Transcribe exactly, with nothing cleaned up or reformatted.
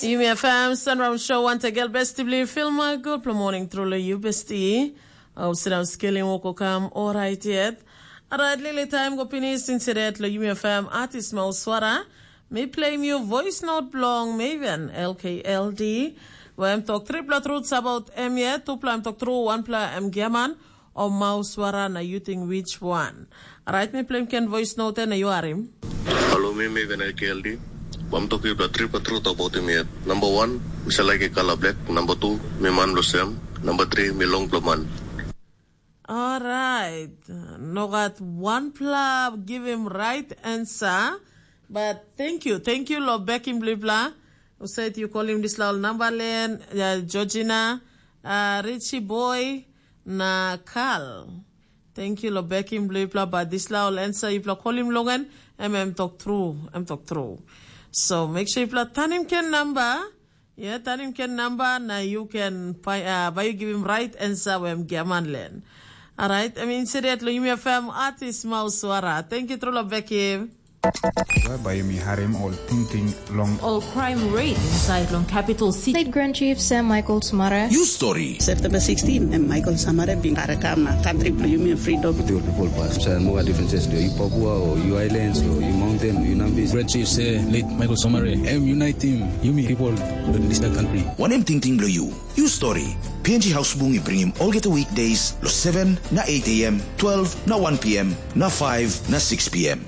Yumi F M Sunrise Show, wantegel besti bli filma, gutpela morning truly you besti. Au sinau skelim woko kam orait yet. Alright, lili time go pinis insidet lo Yumi F M artist mau swara. Mi play you voice note blong Maven L K L D. Wem tok tripla truths about em yet, tupla em tok true, wanpla em giaman. O mau swara na you think which one? Alright, mi play ken voice note na you are him. Halo, mi Maven L K L D. Bam tok yupla tripla truth about him yet. Number one, mi sa like kala black. Number two, mi man lo sem. Number three, mi long blo man. Alright. No gat one pla give him right answer. But thank you. Thank you lo bekim blipla. Usaid you call him this laul number len, uh, Georgina, uh, Richie boy, na Carl. Thank you lo bekim blipla, but this laul answer yupla call him longan, em em tok true, em tok true. So make sure yupla tanim ken number. Yeah, tanim ken number na you can find, uh, by you give him right answer wem giaman len. Alright, I mean, insidet lo Yumi F M artist mau swara. Thank you, true lo bekim. Bai yumi harim ol tingting long ol crime rate inside long capital city. State Grand Chief Sam Michael Sumara. You story. September sixteen, em Michael Samare bin karakam na country bilong yumi freedom. The people pass. Sa mo differences do you Papua or you islands or you mountain, you Nambis. Grand Chief say late Michael Samare, em unite team, yumi people, this country. Wanem tingting bilong you? You story. P N G House Bung i bringim olgeta weekdays lo seven na eight a m, twelve na one p m, na five na six p m.